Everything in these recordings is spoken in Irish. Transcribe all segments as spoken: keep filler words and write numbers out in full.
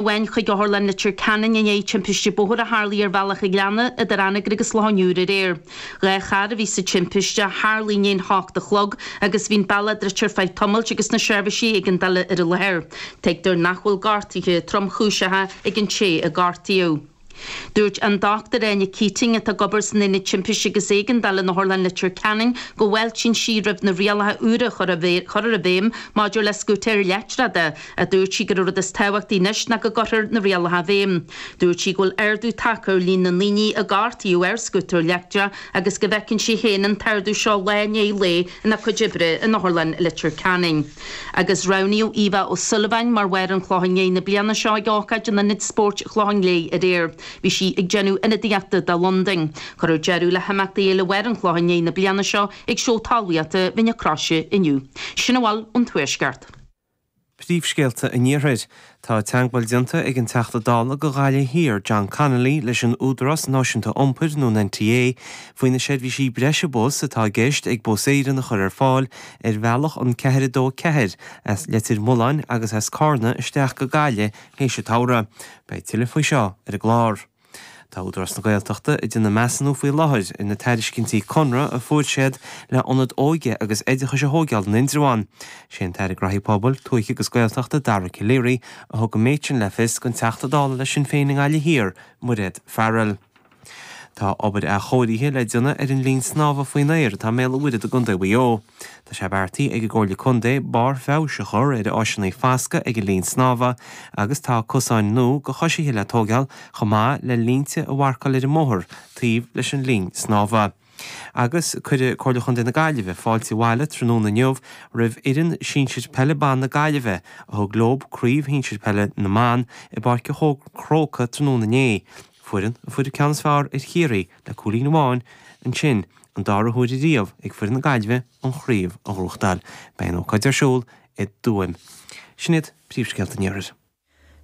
amháin chuig Otharlann Leitir Ceanainn i ndiaidh timpiste bóthair a tharlaigh ar Bhealach an Ghleanna idir Anagaire agus Loch an Iúir aréir. Dhá charr a bhí sa timpiste, tharlaigh i ndiaidh a hocht a chlog agus bhí an bealach druidte ar feadh tamaill agus na seirbhísí éigeandála ar an láthair. Tuigtear nach bhfuil gortuithe tromchúiseacha ag an té a gortaíodh. Dúirt an Dochtúir Áine Keating, atá ag obair san Ionad Timpiste agus Éigeandála in Otharlann Leitir Ceanainn, go bhfáiltíonn sí roimh na rialacha úra a chur i bhfeidhm maidir le scútaeir leictreacha, a dúirt sí gur an rud is tábhachtaí anois ná go gcuirfear na rialacha i bhfeidhm. Dúirt sí go bhfuil ardú tagtha ar líon na ndaoine a gortaíodh ar scútar leictreach agus go bhfeiceann sí féin an t-ardú seo lá i ndiaidh lae ina cuid oibre in Otharlann Leitir Ceanainn. Agus roghnaíodh Eva O'Sullivan mar Mháire an Chlocháin Léith na bliana seo ag ócáid in Ionad Spóirt Chlochán Léith aréir. Bhí sí ag déanamh ionadaíochta do Londain. Cuirfear deireadh le himeachtaí Fhéile Mháire an Chlocháin Léith na bliana seo ag seó talmhaíochta Mhín na Croise inniu. Sin a bhfuil ón Tuaisceart. Príomhscéalta an Iarthair. Tá teagmháil déanta ag an Teachta Dála do Ghaillimh Thiar, John Connolly, leis an Údarás Náisiúnta Iompair nó an NTA faoi na seirbhísí breise bus atá i gceist ag Bus Éireann a chur ar fáil ar bhealach an ceathair a dó ceathair as Leitir Mealláin agus as Carna isteach go Gaillimh théis an tsamhraidh. Beidh tuilleadh faoi seo ar an gclár. Tá Údarás na Gaeltachta ag déanamh measúnú faoi láthair ar na tairiscintí conradh a fuair siad le ionad óige agus oideachais a thógáil in Indreabhán. Sé an tAire Graithí Pobail, Tuaithe agus Gaeltachta Dara Calleary a thug an méid sin le fios don Teachta Dála le Sinn Féin i nGaillimh Thiar, Mairéad Farrell. Tá obair athchóirithe le déanamh ar an linn snámha faoin aer atá i mBéal an Mhuirthead i gContae Mhaigh Eo. Tá sé beartaithe ag an gComhairle Contae barr feabhais a chur ar áiseanna foscaidh ag an linn snámha agus tá cosáin nua do choisithe le tógáil chomh maith le línte a mharcáil ar an mbóthar taobh leis an linn snámha. Agus cuirfidh Comhairle Chontae na Gaillimhe fáilte abhaile tráthnóna inniu roimh fhoireann sinsir peile ban na Gaillimhe a thug leo craobh shinsir peile na mban i bPáirc an Chrócaigh tráthnóna inné. Foireann a fuair an ceann is fearr ar Chiarraí le cúilín amháin ansin an dara huair riamh ag foireann na Gaillimhe an chraobh a ghnóthachtáil. Beidh an ócáid ar siúl i dTuaim. Sin iad príomhscéalta an Iarthair.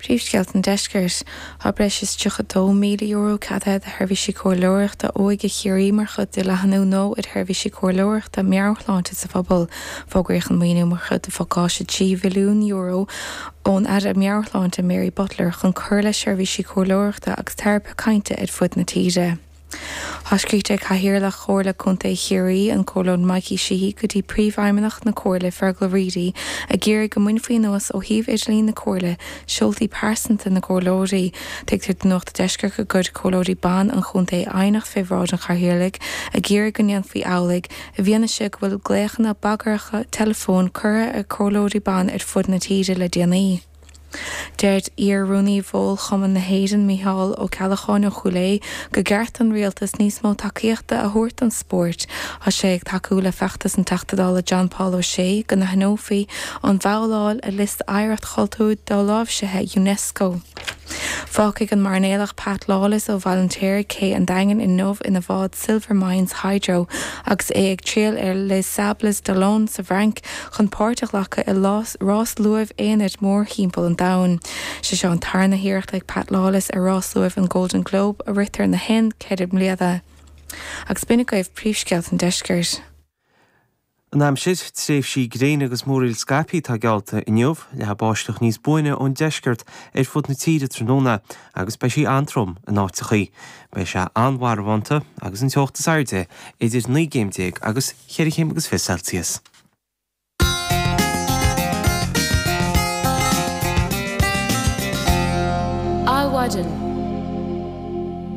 Príomhscéalta an Deiscirt. Tá breis is tríocha dó míle euro ceadaithe do sheirbhísí comhairleoireachta óige Chiarraí mar chuid de leathnú nua ar sheirbhísí comhairleoireachta meabhairshláinte sa phobal. Fógraíodh an maoiniú mar chuid de phacáiste trí mhilliún euro ón Aire Meabhairshláinte Mary Butler chun cur le seirbhísí comhairleoireachta agus teiripe cainte ar fud na tíre. Tá scríte ag Cathaoirleach Chomhairle Contae Chiarraí an Comhairleoir Mikey Sheehy go dtí Príomhfheidhmeannach na Comhairle Fergal Reidy ag iarraidh go mbainfí anuas ó shuíomh idirlín na Comhairle seoltaí pearsanta na gcomhairleoirí. Tuigtear do Nuacht an Deiscirt go gcuir comhairleoirí ban an chontae aighneacht fé bhráid an chathaoirligh ag iarraidh go ndéanfaí amhlaidh i bhfianaise go bhfuil glaochanna bagartha teileafóin curtha ar chomhairleoirí ban ar fud na tíre le déanaí. Deir iar-rúnaí Bhól Chumann na hÉireann Mícheál Ó Ceallacháin ó Chúil Aodha gur cheart don rialtas níos mó tacaíochta a thabhairt don spórt. Tá sé ag tacú le feachtas an Teachta Dála John Paul O'Shea go n-aithneofaí an bhabhláil ar liosta oidhreacht chultúir doláimhsithe UNESCO. Fágfaidh an mairnéalach Pat Lawless ó Bhaile an tSaoir Cé an Daingin inniu ina bhád Silvermines Hydro agus é ag triall ar Les Sables d'Olonne sa bhFrainc chun páirt a ghlacadh i rás luaimh aonair mórthimpeall an domhain. Sé seo an tarna hiarracht ag Pat Lawless ar rás luaimh an Golden Globe a ritear gach aon ceithre bliana. Agus b'in agaibh príomhscéalta an deiscirt. An aimsir, tréimhsí gréine agus múraíl scaipthe atá geallta inniu, leathfaidh báisteach níos buaine ón deisceart ar fud na tíre tráthnóna agus beidh sí an-trom in áiteachaí. Beidh sé an-mharbhánta agus an teocht is airde idir naoi gcéim déag agus cheithre chéim agus fiche Celsius. Adhmhaidin.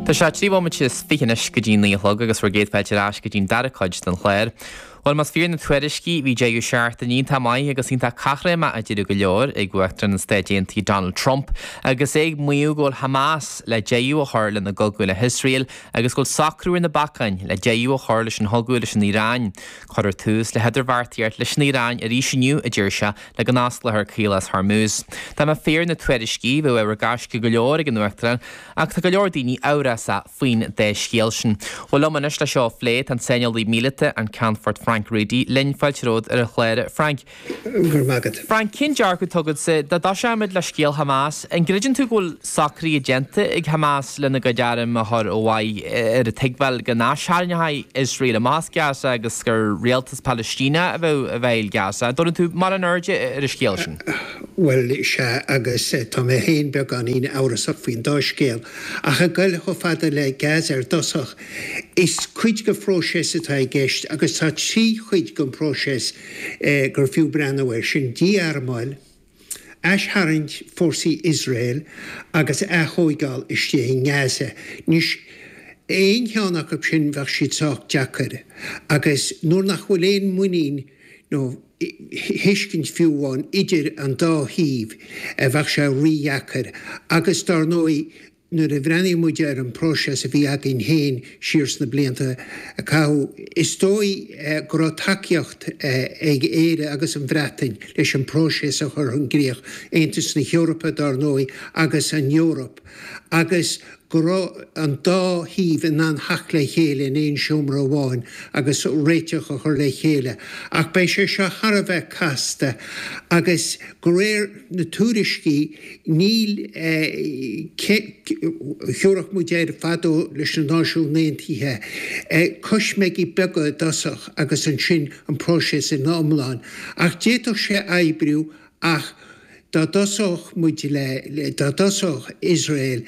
Tá sé trí bhomaite is fiche anois go dtí naoi a chlog agus bhur gcéad fáilte ar ais go dtí'n dara cuid den chlár. Bhuel, más fíor na tuairiscí, bhí deireadh seachtaine iontach maith agus iontach caithréimeach a deir go leor ag Uachtarán na Stáit Aontaithe Donald Trump agus é ag maíomh go bhfuil Hamas le deireadh a chur lena gcogadh le hIosrael agus go bhfuil socrú ar na bacáin le deireadh a chur leis an chogadh leis an Iaráin. Cuirfear tús le hidirbheartaíocht leis an Iaráin arís inniu, a deir sé, le go n-osclófar Caolas Hormuz. Dá mba fíor na tuairiscí, bheadh ábhar gaisce go leor ag an Uachtarán ach tá go leor daoine amhrasach faoin dá scéal sin. Bhuel liom anois le seo a phlé tá an saineolaí míleata, an Ceannfort Frank Reidy linn fáilte romhat ar an chlár Frank. Gur magat. Frank cén dearcadh atá agatsa dá dtosóimid le scéal Hamas, an gcreideann tú go bhfuil socraithe déanta ag Hamas lena gcuid arm a chur ó mhaith ar an tuigbheáil go n-aistarraingeoidh Iosrael amach as Gaza agus gur rialtas Palaistíneach a bheidh i bhfeighil Gaza. An dtabharann tú mórán airde ar an scéal sin? Bhuel sea agus tá mé féin beagáinín amhrasach faoin dá scéal. Ach ag goil chomh fada le Gaza ar dtosach, is cuid de phróiseas atá i gceist agus tá trí chuid den phróiseas gur fiú breathnú air, sin dí-armáil, aistharraingt fórsaí Iosrael agus aththóigeáil istigh i nGaza. Anois, aon cheann acu sin bheadh siad sách deacair agus nuair nach bhfuil aon muinín nó thuiscint fiú amháin idir an dá thaobh bheadh sé rídheacair agus dar ndóigh Nuair a bhreathnaíonn muid ar an bpróiseas a bhí againn féin siar sna blianta a caitheadh, is dóigh go raibh tacaíocht ag Éire agus an Bhreatain leis an bpróiseas a chur chun gcríoch, Aontas na hEorpa dár ndóigh agus an Eoraip, agus go raibh an dá thaobh in ann theacht le chéile in aon seomra amháin agus réiteach a chur le chéile. Ach beidh sé seo thar a bheith casta agus de réir na tuairiscí níl Thiúrfadh muid air fadó leis na Náisiúin Aontaithe, coisméigí beaga i dtosach agus ansin an próiseas ina iomlán. Ach d'fhéadfadh sé oibriú ach dá dtosódh muid le, dá dtosódh Iosrael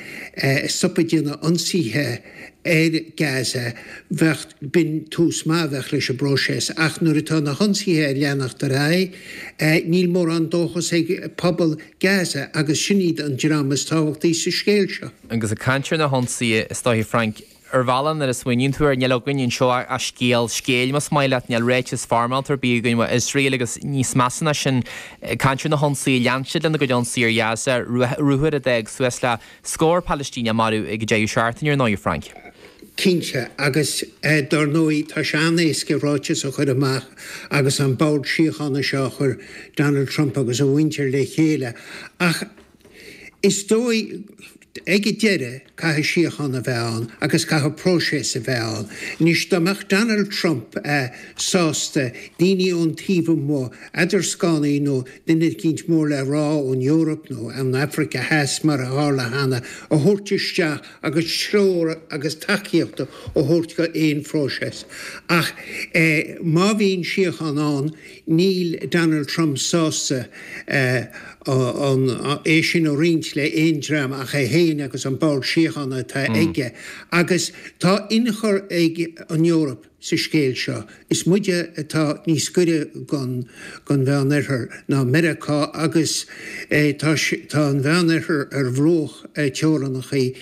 stop ag déanamh ionsaithe ar Gaza, bheadh, b'in tús maith a bheadh leis an bpróiseas. Ach nuair atá na hionsaithe ag leanacht ar aghaidh, níl mórán dóchas ag pobal Gaza agus sin iad an dream is tábhachtaí sa scéal seo. Agus ag caint ar na hionsaithe, is dóiche, Frank, ar bhealach nuair a smaoiníonn tú air, níl againn anseo ach scéal scéil, más maith leat, níl ráiteas foirmeálta ar bith againn ó Iosrael agus níos measa ná sin, ag caint ar na hionsaithe, lean siad lena gcuid ionsaí ar Ghaza, ruathar a d'fhág suas le scór Palaistíneach marbh ag an deireadh seachtaine, ar ndóigh, Frank. Cinnte, agus dar ndóigh tá sé an-éasca ráiteas a chur amach agus an bord síochána seo a chuir Donald Trump agus a mhuintir le chéile ach is dóigh ag an deireadh caithfidh síocháin a bheith ann agus caithfidh próiseas a bheith ann. Anois dá mbeadh Donald Trump sásta daoine ón taobh amuigh, eadarscánaí nó duine eicínt mór le rá ón Eoraip nó ón Afraic Theas mar a tharla cheana, a thabhairt isteach agus treoir agus tacaíocht a thabhairt go aon phróiseas. Ach má bhíonn síocháin ann, níl Donald Trump sásta é sin a roinnt le aon dream ach é féin agus an Bord Síochána atá aige. Agus tá ionchur ag an Eoraip sa scéal seo. Is muide atá níos gaire don Mheánoirthear ná Meiriceá agus tá an Mheánoirthear ar bhruach teorainneacha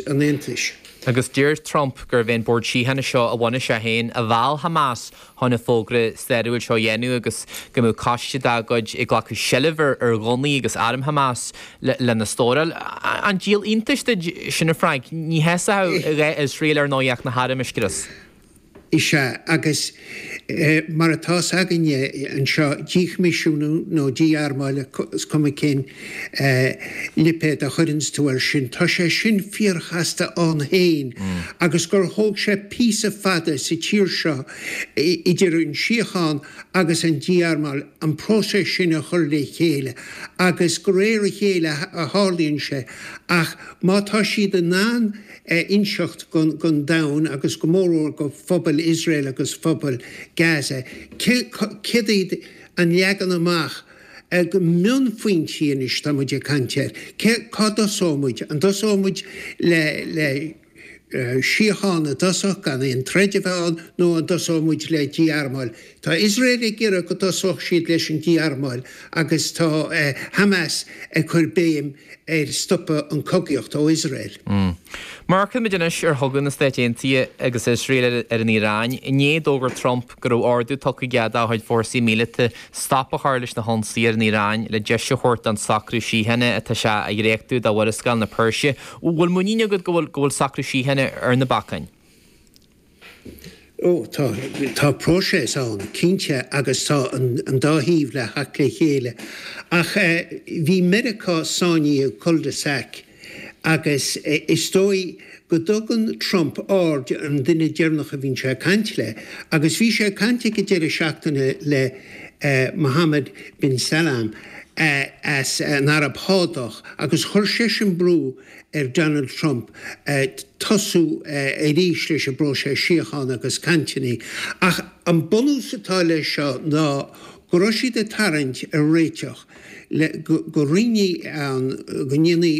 an Aontais. Agus deir Trump gurbh é an Bord Síochána seo a bhunaigh sé féin a mheall Hamas chun an fógra stairiúil seo a dhéanamh agus go mbeadh coiste dá gcuid ag glacadh seilbh ar ghunnaí agus airm Hamas lena stóráil. An díol iontais duit sin a Frank? Ní sheasódh dhá Iosrael ar ndóigh ach na hairm a scrios. Is ea, agus mar atá 's againne anseo, díchoimisiúnú nó dí-armáil, is cuma cén lipéad a chuireanns tú air sin, tá sé sin fíorchasta ann féin agus gur thóg sé píosa fada sa tír seo idir an síocháin agus an dí-armáil an próiseas sin a chur le chéile agus de réir a chéile a tharlaíonn sé ach má tá siad in ann inseacht don domhan agus go mórmhór go phobal Iosrael agus phobal Gaza céard iad an leagan amach go mionphointí anois tá muid ag caint air. Cá dtosóidh muid? An dtosóidh muid le síocháin i dtosach gan aon troid a bheith ann nó an dtosóidh muid le dí-armáil? Tá Iosrael ag iarraidh go dtosódh siad leis an dí-armáil agus tá Hamas ag cur béim ar stopadh an cogaíocht ó Iosrael. Má amharcann muid anois ar chogadh na Stáit Aontaithe agus Iosrael ar an Iaráin, inné d'fhógair Trump go raibh ordú tugtha aige dá chuid fórsaí míleata stop a chur leis na hionsaithe ar an Iaráin le deis a thabhairt don socrú síochána atá sé a dhréachtú do Mhurascaill na Peirse. Bhfuil muinín agat go bhfuil socrú síochána ar na bacáin? Ó, tá, tá próiseas ann, cinnte, agus tá an dá thaobh le theacht le chéile. Ach bhí Meiriceá sáinnithe i cul-de-sac Agus is dóigh go dtugann Trump aird ar an duine deireanach a bhíonn sé ag caint le, agus bhí sé ag caint ag an deireadh seachtaine le Mohammed bin Salman as an Araib Shádach agus chuir seisean brú ar Donald Trump tosú arís leis an bpróiseas síochána agus cainteanna. Ach an bunús atá leis seo ná go raibh siad ag tarraingt ar réiteach le go rinne an go ndéanfaí